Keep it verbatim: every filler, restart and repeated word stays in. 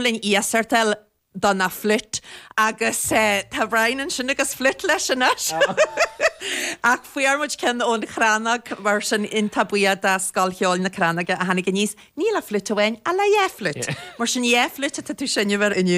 linn iasacht do na flute agus eh, tá Brian ansin agus flute leis anois. Ach fuair muid ceann ón Chrannóg mar sin iontach buíoch do Scoil Cheoil na Crannóige a tháinig aníos ní le flute amháin ach le dhá flute. Mar sin dhá flute atá tú seinm air inniu.